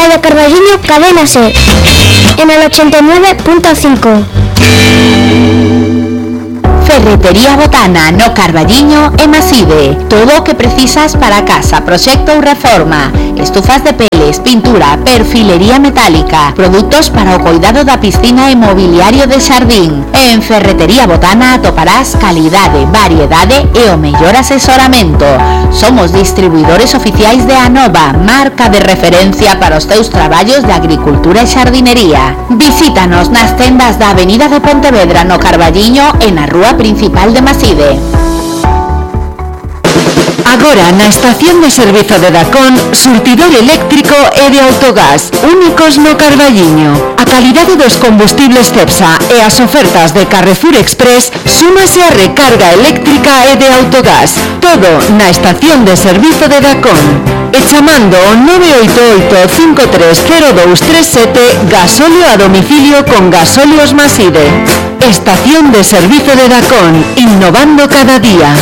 de Carballiño, Cadena SER, en el 89.5. Ferretería Botana no Carballiño e Maside. Todo o que precisas para casa, proxecto ou reforma. Estufas de peles, pintura, perfilería metálica, produtos para o cuidado da piscina e mobiliario de xardín. En Ferretería Botana atoparás calidade, variedade e o mellor asesoramento. Somos distribuidores oficiais de Anova, marca de referencia para os teus traballos de agricultura e xardinería. Visítanos nas tendas da Avenida de Pontevedra no Carballiño e na Rúa Principal de Maside. Agora na estación de servizo de Dacón, surtidor eléctrico e de autogás, únicos no Carballiño. A calidade dos combustibles Cepsa e as ofertas de Carrefour Express súmase a recarga eléctrica e de autogás. Todo na estación de servizo de Dacón. E chamando o 988-530237, gasóleo a domicilio con Gasóleos Maside. Estación de servizo de Dacón, innovando cada día.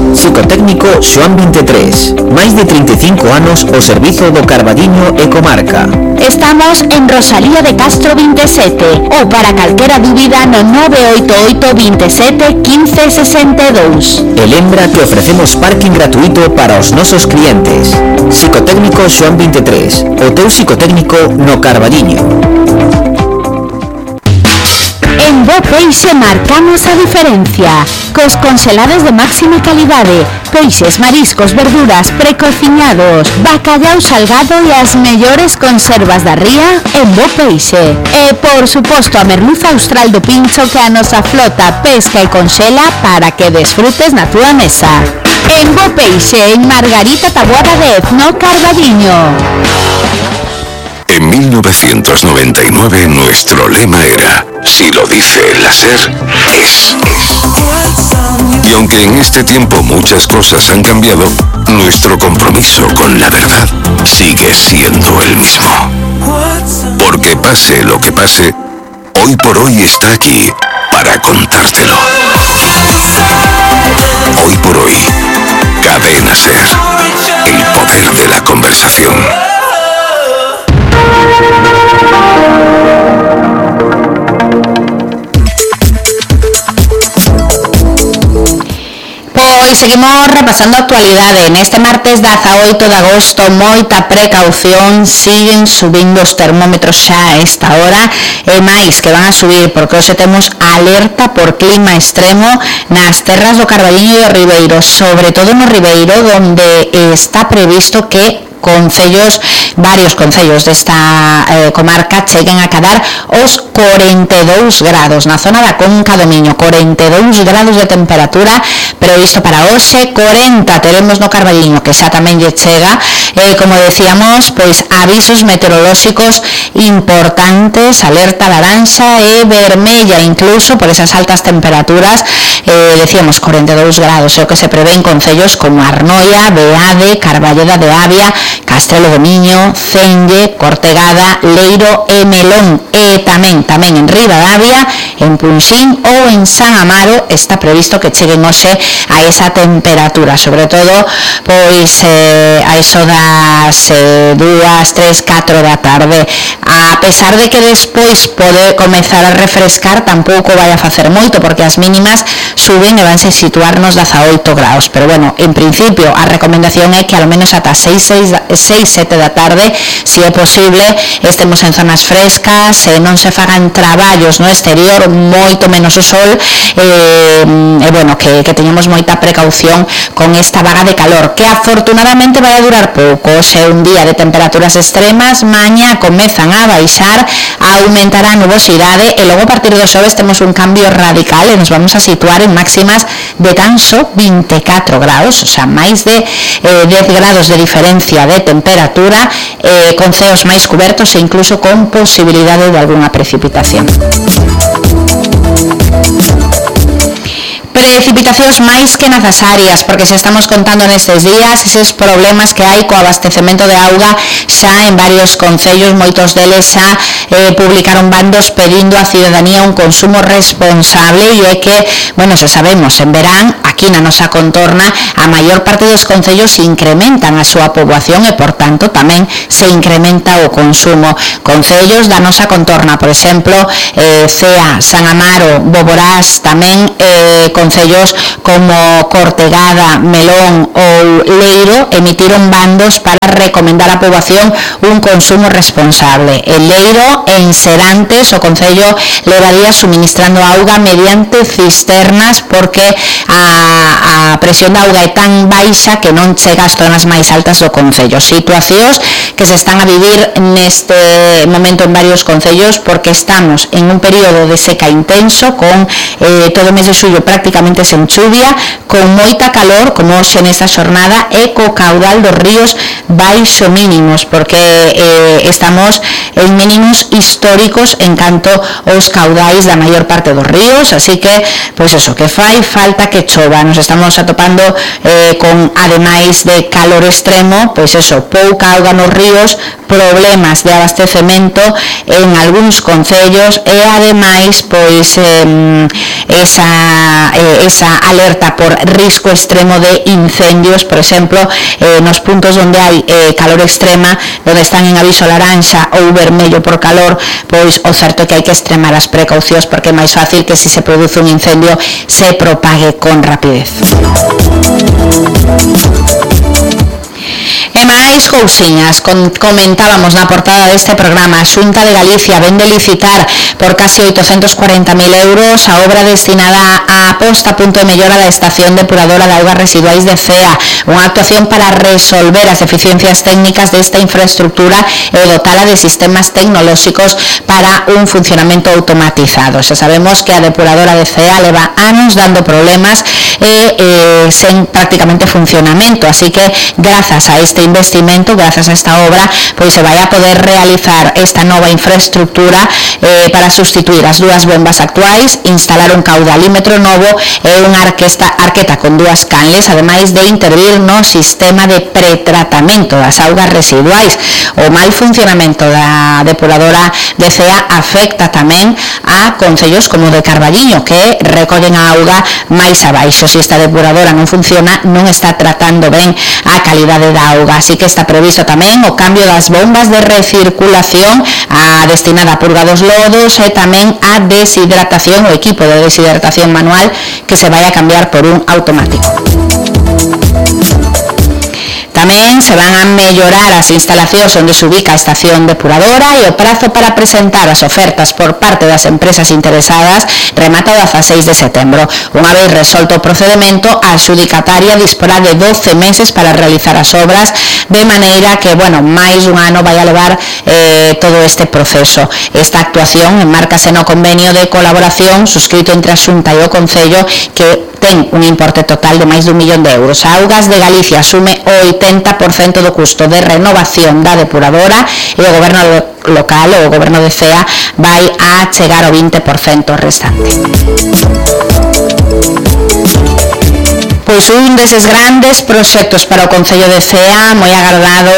Psicotécnico Xoán 23, máis de 35 anos ao servizo do Carballiño e comarca. Estamos en Rosalía de Castro 27 ou para calquera dúbida no 988 27 15 62. E lembra que ofrecemos parking gratuito para os nosos clientes. Psicotécnico Xoán 23, o teu psicotécnico no Carballiño. En Bo Peixe marcamos a diferencia. Cos congelados de máxima calidade, peixes, mariscos, verduras, precociñados, bacallau salgado e as mellores conservas da ría en Bo Peixe. E, por suposto, a merluza austral do pincho que a nosa flota pesca e conxela para que desfrutes na túa mesa. En Bo Peixe, en Margarita Taboada 10, no Carballiño. En 1999 nuestro lema era: si lo dice la SER, es. Y aunque en este tiempo muchas cosas han cambiado, nuestro compromiso con la verdad sigue siendo el mismo. Porque pase lo que pase, Hoy por Hoy está aquí para contártelo. Hoy por Hoy, Cadena SER, el poder de la conversación. Pois seguimos repasando a actualidade. Neste martes 18 de agosto, moita precaución, siguen subindo os termómetros xa a esta hora e máis que van a subir porque hoxe temos alerta por clima extremo nas terras do Carballiño e do Ribeiro, sobre todo no Ribeiro, onde está previsto que varios concellos desta comarca cheguen a cadar os 42 grados na zona da Conca do Miño, 42 grados de temperatura previsto para hoxe, 40 teremos no Carballiño, que xa tamén lle chega, como decíamos, pois avisos meteorolóxicos importantes, alerta laranxa e vermella incluso por esas altas temperaturas, decíamos 42 grados, é o que se prevé en concellos como Arnoia, Beade, Carballeda de Avia, Castrelo do Miño, Cenlle, Cortegada, Leiro e Melón, e tamén en Ribadavia, en Punxín ou en San Amaro está previsto que cheguen hoxe a esa temperatura, sobre todo pois a iso das 2, 3, 4 da tarde, a pesar de que despois pode comezar a refrescar, tampouco vai a facer moito porque as mínimas suben e vanse situarnos 18 graus, pero bueno, en principio a recomendación é que ao menos ata 6, 7 da tarde, se é posible, estemos en zonas frescas, non se fagan traballos no exterior, moito menos o sol, e bueno, que teñamos moita precaución con esta vaga de calor, que afortunadamente vai a durar pouco. Hoxe é un día de temperaturas extremas, mañá comezan a baixar, aumentará a nubosidade e logo a partir do xoves temos un cambio radical e nos vamos a situar en máximas de tan só 24 graus, o sea, máis de 10 grados de diferencia de temperatura, con ceos máis cubertos e incluso con posibilidade de algunha precipitación. Precipitacións máis que necesarias, porque se estamos contando nestes días eses problemas que hai co abastecemento de auga xa en varios concellos, moitos deles xa publicaron bandos pedindo á cidadanía un consumo responsable, e é que, bueno, se sabemos, en verán, aquí na nosa contorna, a maior parte dos concellos incrementan a súa poboación e, por tanto, tamén se incrementa o consumo. Concellos da nosa contorna, por exemplo, Cea, San Amaro, Boborás, tamén concellos como Cortegada, Melón ou Leiro emitiron bandos para recomendar á poboación un consumo responsable. En Leiro, en Serantes, o concello levaría suministrando auga mediante cisternas porque a presión da auga é tan baixa que non chega ás zonas máis altas do concello. Situacións que se están a vivir neste momento en varios concellos porque estamos en un período de seca intenso con todo o mes de xullo prácticamente sen chuvia, con moita calor como hoxe nesta xornada e co caudal dos ríos baixo mínimos porque estamos en mínimos históricos en canto aos caudais da maior parte dos ríos, así que, pois eso, que fai falta que chova. Nos estamos atopando con, ademais de calor extremo, pois eso, pouca auga nos ríos, problemas de abastecemento en algúns concellos e ademais, pois, esa alerta por risco extremo de incendios, por exemplo, nos puntos onde hai calor extrema, onde están en aviso laranxa ou vermello por calor, pois o certo é que hai que extremar as precaucións porque é máis fácil que se produce un incendio se propague con rapidez. E máis cousiñas, comentábamos na portada deste programa, a Xunta de Galicia vende licitar por casi 840.000 euros a obra destinada a posta a punto de mellora da estación depuradora de augas residuais de Cea, unha actuación para resolver as deficiencias técnicas desta infraestructura e dotala de sistemas tecnolóxicos para un funcionamento automatizado. Xa sabemos que a depuradora de Cea leva anos dando problemas e sen prácticamente funcionamento, así que grazas a este investimento, grazas a esta obra, pois se vai a poder realizar esta nova infraestructura para sustituir as dúas bombas actuais, instalar un caudalímetro novo e unha arqueta con dúas canles, ademais de intervir no sistema de pretratamento das augas residuais. O mal funcionamento da depuradora de Cea afecta tamén a concellos como de Carballiño, que recollen a auga máis abaixo. Se esta depuradora non funciona, non está tratando ben a calidade da auga, así que está previsto tamén o cambio das bombas de recirculación, a destinada a purga dos lodos e tamén a deshidratación, o equipo de deshidratación manual que se vai a cambiar por un automático. Tamén se van a mellorar as instalacións onde se ubica a estación depuradora e o prazo para presentar as ofertas por parte das empresas interesadas remata o 16 de setembro. Unha vez resolto o procedimento, a adxudicataria disporá de 12 meses para realizar as obras, de maneira que, bueno, máis dun ano vai a levar todo este proceso. Esta actuación enmárcase no convenio de colaboración suscrito entre a Xunta e o Concello, que ten un importe total de máis de 1 millón de euros. A Augas de Galicia asume o 80% do custo de renovación da depuradora e o goberno local, o goberno de Cea, vai a chegar ao 20% restante. Pois un deses grandes proxectos para o Concello de Cea, moi agardado,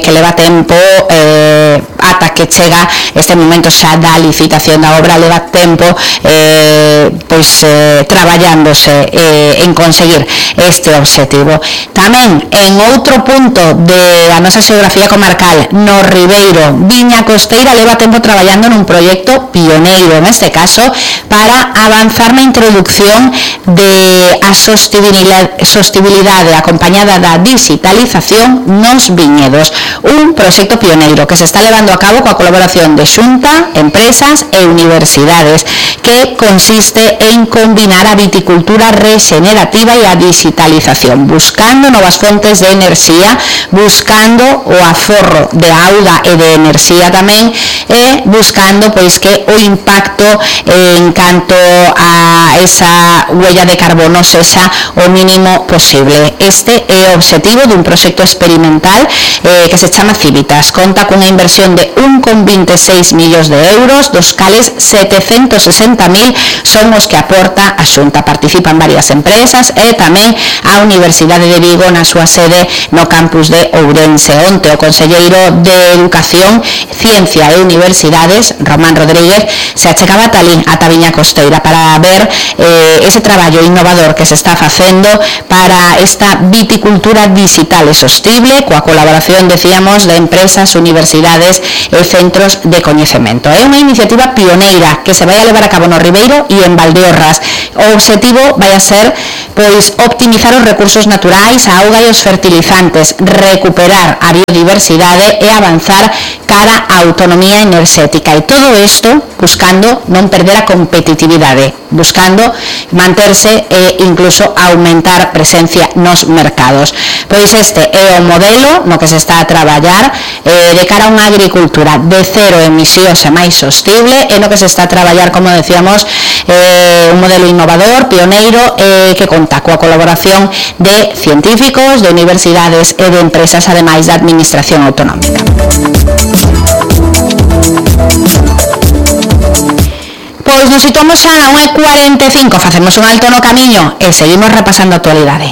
que leva tempo ata que chega este momento xa da licitación da obra, leva tempo traballándose en conseguir este objetivo. Tamén en outro punto da nosa xeografía comarcal, no Ribeiro, Viña Costeira leva tempo traballando nun proxecto pioneiro, neste caso, para avanzar na introducción de a sostibilidade acompañada da digitalización nos viñedos, un proxecto pioneiro que se está levando a cabo coa colaboración de Xunta, empresas e universidades, que consiste en combinar a viticultura regenerativa e a digitalización, buscando novas fontes de enerxía, buscando o aforro de auga e de enerxía tamén, e buscando pois que o impacto en canto a esa huella de carbono sexa o mínimo posible. Este é o obxectivo dun proxecto experimental que se chama Civitas. Conta cunha inversión de 1,26 millóns de euros, dos cales 760.000 40.000 son os que aporta a Xunta. Participan varias empresas e tamén a Universidade de Vigo na súa sede no campus de Ourense. Onte o conselleiro de Educación, Ciencia e Universidades, Román Rodríguez, se achegaba ata Viña Costeira para ver ese traballo innovador que se está facendo para esta viticultura digital e sostible coa colaboración, decíamos, de empresas, universidades e centros de coñecemento. É unha iniciativa pioneira que se vai a levar a cabo no Ribeiro e en Valdeorras. O obxectivo vai a ser optimizar os recursos naturais, a auga e os fertilizantes, recuperar a biodiversidade e avanzar cara á autonomía enerxética. E todo isto buscando non perder a competitividade, buscando manterse e incluso aumentar presencia nos mercados. Pois este é o modelo no que se está a traballar de cara a unha agricultura de cero emisións e máis sostible, e no que se está a traballar, como decíamos, un modelo innovador, pioneiro, que conta coa colaboración de científicos, de universidades e de empresas, ademais da administración autonómica. Pois nos situamos xa na 1:45, facemos un alto no camiño e seguimos repasando a actualidade.